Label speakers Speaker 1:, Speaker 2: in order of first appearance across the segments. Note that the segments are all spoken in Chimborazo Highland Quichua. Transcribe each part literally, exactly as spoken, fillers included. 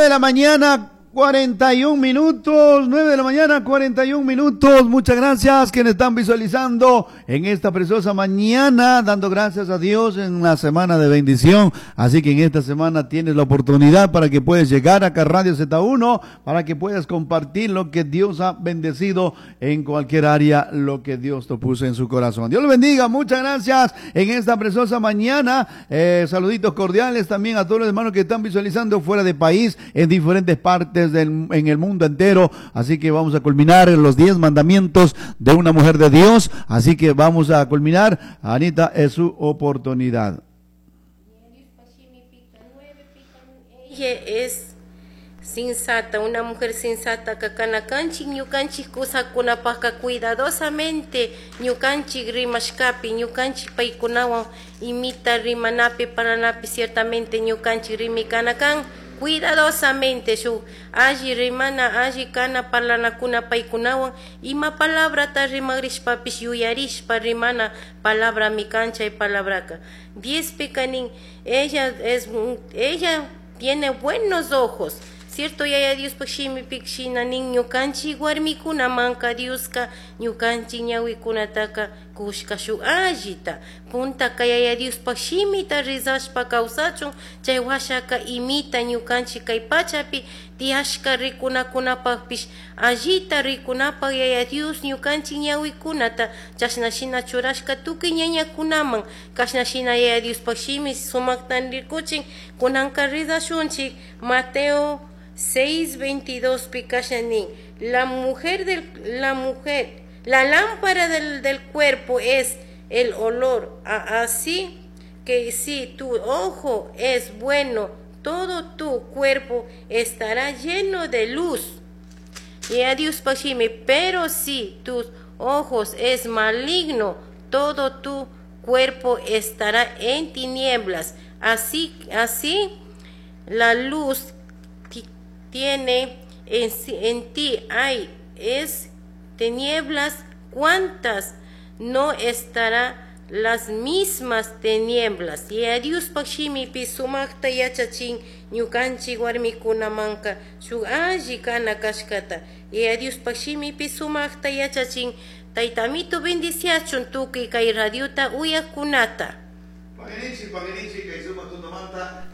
Speaker 1: De la mañana, cuarenta y un minutos, nueve de la mañana, cuarenta y un minutos. Muchas gracias quienes están visualizando en esta preciosa mañana, dando gracias a Dios en una semana de bendición. Así que en esta semana tienes la oportunidad para que puedas llegar acá a Radio Z uno, para que puedas compartir lo que Dios ha bendecido en cualquier área, lo que Dios te puso en su corazón. Dios lo bendiga, muchas gracias en esta preciosa mañana. Eh, saluditos cordiales también a todos los hermanos que están visualizando fuera de país, en diferentes partes del, en el mundo entero. Así que vamos a culminar los diez mandamientos de una mujer de Dios. Así que vamos a culminar. Anita, es su oportunidad.
Speaker 2: Ella es sensata, una mujer sensata kana kanchik ñukanchik kusakunapajka cuidadosamente ñukanchik rimashkapi, ñukanchik paykunawan imita rimanapi, parlanapi, ciertamente ñukanchik rimikana kan cuidadosamente, shuk alli rimana, alli kana parlanakuna paykunawan, ima palabrata rimagrishpapish yuyarishpa rimana palabrami kan chay palabraka. Diezpika nin, ella es ella tiene buenos ojos. Cierto, Yaya Diospaj shimipik shina nin, ñukanchik warmikunamanka Dioska ñukanchik ñawikunataka kushka shuk allita. Puntaka Yaya Diospaj shimita rezashpa kawsachun, chay washaka imita ñukanchik kay pachapi tiyashka rikunakunapakpish allita rikunapaj Yaya Dios ñukanchik ñawikunata chashna shina churashka tukuy ñañakunaman. Kashna shina Yaya Diospaj shimi sumakta rikuchin. Kunanka rezashunchik Mateo seis veintidós pi kashna nin: la mujer del la mujer la lámpara del, del cuerpo es el olor, así que si tu ojo es bueno, todo tu cuerpo estará lleno de luz. Y a Dios shimi, pero si tus ojos es maligno, todo tu cuerpo estará en tinieblas. Así, así la luz tiene en, en ti hay es tinieblas, ¿cuántas no estará las mismas tinieblas? Y a Diospaj shimipi sumakta yachachin ñukanchik warmikunamanka shuk alli kana kashkata. Y a Diospaj shimipi sumakta yachachin. Taytamito bendiciachun tukuy kay radiota uyakkunata.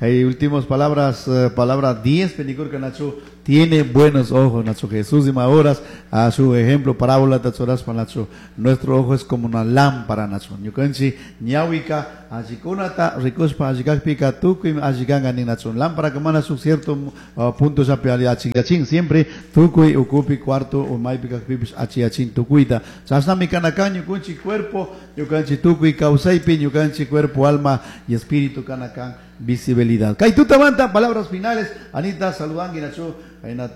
Speaker 1: Hay últimas palabras, eh, palabra diez, Penicurca Nacho, tiene buenos ojos, Nacho Jesús y horas a su ejemplo, parábola Tatsoras Nacho. Nuestro ojo es como una lámpara, Nacho. Ñukanchi, ñawika, allikunata, rikushpa, allikakpika, tukuy, allikanga ni Nacho. Lámpara que mana su cierto uh, punto sapi achiyachin, siempre tukuy, ukupi, cuarto, o maypi kakpipis achiyachin tukuyta. Chasnami kanakan ñukanchi cuerpo, ñukanchi tukuy kawsaypi, ñukanchi cuerpo, alma y espíritu kanakan visibilidad. Kaitutamanta, palabras finales. Anita, saludangi Nacho,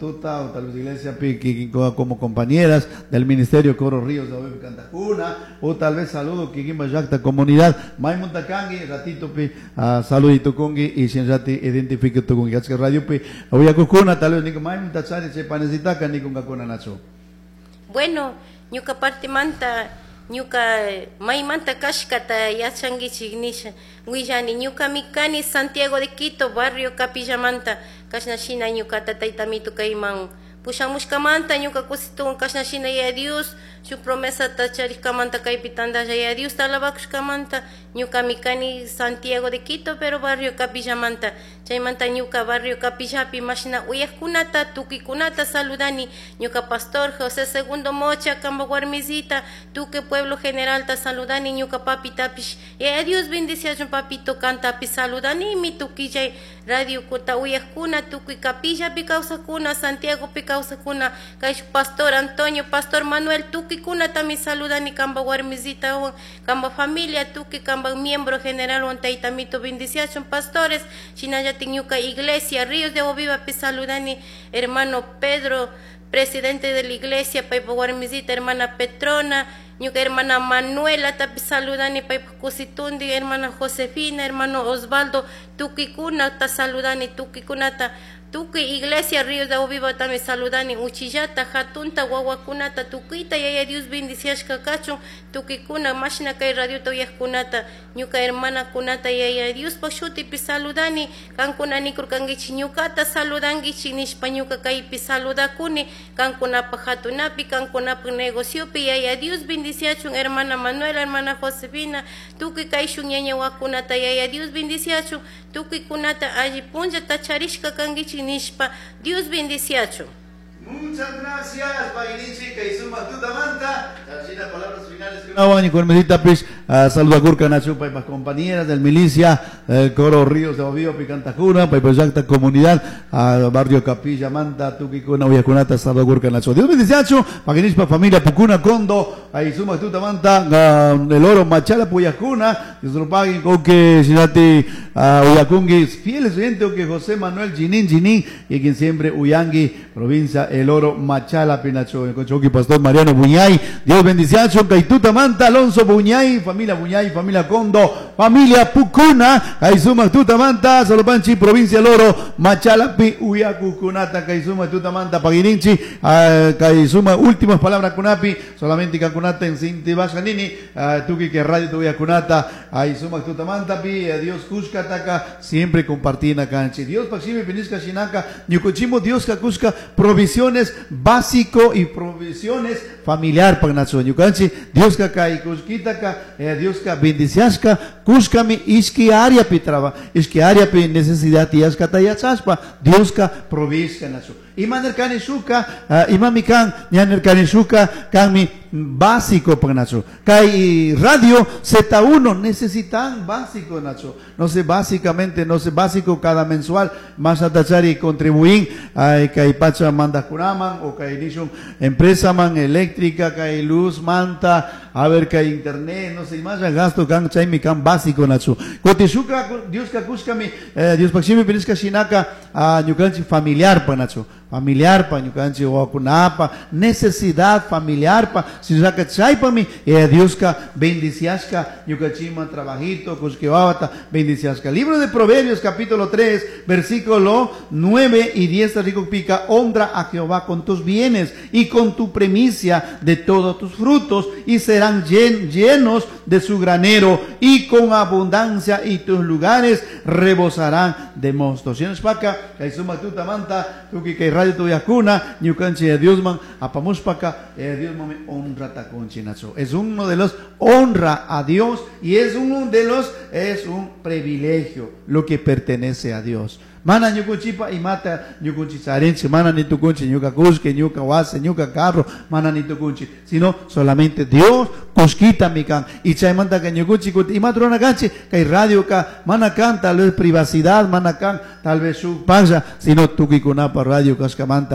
Speaker 1: Tuta, o tal vez iglesia como compañeras del Ministerio Coro Ríos de Obe Cantajuna, o tal vez saludo kikinpaj llakta comunidad, maymunta kangi, ratito pi, uh, saludito kungi, y rati identifique tukungi, achka radio pi, uyakukuna, tal vez niko maymunta chari che panesitaka nikungakuna Nacho.
Speaker 2: Bueno, ñuka parte manta, ñuka maymanta kashkata yachanguichik nisha willani. Ñukami kani Santiago de Quito, barrio Capillamanta. Kashna shina ñukata taytamito kayman pushamushkamanta ñuka kusituwan, kashna shina Yaya Dios shuk promesata charishkamanta kaypi tandalla Yaya Dios alabakushkamanta. Ñukami kani Santiago de Quito, pero barrio Capillamanta. Chaymanta ñuka barrio Capillapi mashna uyakkunata tukuykunata saludani, ñuka pastor José Segundo Mocha, kamba warmisita, tukuy pueblo generalta saludani, ñuka papitapish Yaya Dios bendiciachun papito kantapish saludanimi, tukuy chay radio kuta uyakkuna, tukuy Capillapi kawsakuna, Santiagopi kawsakuna, kay pastor Antonio, pastor Manuel, tukuykunatami saludani, kamba warmisitawan, kamba familia, tukuy kamba miembro general wan. Taytamito bendiciachun pastores. Shinallatik ñuka iglesia Ríos de Agua Viva saludani, hermano Pedro, presidente de la iglesia, paypa warmisita hermana Petrona. Ñuka hermana Manuela tapi saludani paypak kusitundi, hermana Josefina, hermano Osvaldo, tukuykunata saludani, tukuykunata tukuy iglesia Ríos de Agua Viva también saludani, uchillata, hatunta, wawakunata, tukuyta yaya Dios bendiciashka kachun, tukuykuna mashna kay radiota uyajkunata, ñuka hermanakunata yaya Diospak shutipi saludani, kankuna nikurkankichik ñukata saludankichik nishpa ñuka kaypi saludakuni, kankunapak hatunapi, kankunapak negociopi yaya Dios bendiciachun, hermana Manuela, hermana Josefina, tukuy kayshun ñañawakunata yaya Dios bendiciachun, tukuykunata alli punllata charishka kankichik nishpa Dios bendiciachun.
Speaker 1: Muchas gracias, Paguinichi, Kaizuma Tutamanta. Chachina, palabras finales. Una con mesita, pues, saluda Gurka Nacho, paipas compañeras del milicia, el coro Ríos de Obvio, Picantajuna, paipas Yacta Comunidad, a Barrio Capilla, Manta, Tuquicuna, Uyacunata, saluda Gurka Nacho. Dios bendice, Paguinichi, familia Pucuna, Condo, Aizuma Tutamanta, el oro Machala, Puyacuna, Dios lo paguen, con que Shinati, Uyacungui, fieles oyentes, que José Manuel Ginin Ginin, y quien siempre Uyangui, provincia El Oro, Machala, Pinacho, Conchoqui, Pastor Mariano Buñay, Dios bendice, Caituta Manta, Alonso Buñay, familia Buñay, familia Condo, familia Pucuna, Kaizuma Tuta Manta, Solopanchi, provincia El Oro, Machala, Pi, Uyacucunata, Kaizuma Tuta Manta, Paguirinchi, Kaizuma, últimas palabras Kunapi, solamente Kakunata en Sinti Bajanini, Tuki que radio Tuyacunata, Aizuma Tuta Manta, Pi, Dios Cuscataca, siempre compartina canchi, Dios Paxime, Pinisca Shinaka, Ñucochimo, Dios Cacusca, provisiones básico y provisiones familiar pagnacho ñukanchi Dios ka y kushkitaka eh, Dios ka bendiciashka kushkami ishki área pi traba ishki área pi necesidad tiyashka tayachashpa Dios ka provishka nacho imanerkani shuka uh, imami kan ñanerkani shuka kanmi básico pagnacho kay radio Z uno necesitan básico nacho no sé básicamente no sé básico cada mensual más atachari contribuir ay kay pacha manda kunaman o kay nishun empresa man eléctrica kay luz manta a ver kay internet no sé más gasto kan chaymi kan básico nacho kotishuka Dios ka kushkami eh, Dios pakshimi piniska shinaka a ñukanchi familiar pa nacho familiar pa ñukanchi wawakunapa necesidad familiar pa sinaka chaypami eh, Dios ka bendiciashka ñukachima trabajito kushkiwawata bendiciashka. Libro de Proverbios capítulo tres versículo nueve y diez rico pica honra a Jehová con tus bienes y con tu premicia de todos tus frutos y serán llen, llenos de su granero y con abundancia y tus lugares rebosarán de mosto. Shinashpaka kaizuma tuta manta tuki kay radio tuyakuna ñukanchi Dios man apamushpaka Dios man honra takunchi nacho. Es uno de los honra a Dios y es uno de los es un privilegio lo que pertenece a Dios. Mana ñukunchipa y mata ñukunchi charinchi, mana ni tukunchi ñuka kushki, ñuka wasi, ñuka carro, mana ni tukunchi, sino solamente Dios kushkita mikan. Y chaymanta que ñukunchi kuti, y matrona kanchi, kay radio ka, mana kan, tal vez privacidad, mana kan, tal vez su paya, sino tukikunapa radio kashkamanta.